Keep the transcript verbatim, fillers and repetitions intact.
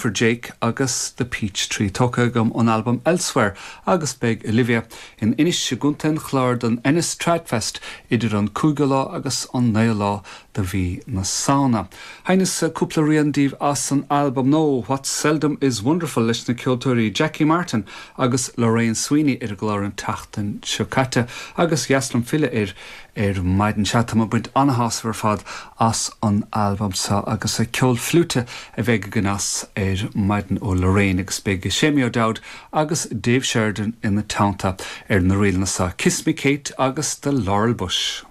for Jake agus The Peach Tree tógtha agam ón albam Elsewhere agus beidh Olivia in Inis i gContae an Chláir don Ennis Tradfest idir an cúigiú lá agus an naoú lá de mhí na Samhna. Sheinneas cúpla rian daoibh as an albam nua What Seldom is Wonderful leis na ceoltóirí Jackie Martin agus Lorraine Sweeney ar an gclár an tseachtain seo caite agus dheas liom filleadh air ar maidin sea tá baint an-shásamh ar fad as an albam seo agus a ceol fliúite a bheidh againn as ar maidin ó Lorraine agus beidh Séamie O'Dowd agus Dave Sheridan ina teannta ar na ríleanna seo Kiss Me Kate agus The Laurel Bush.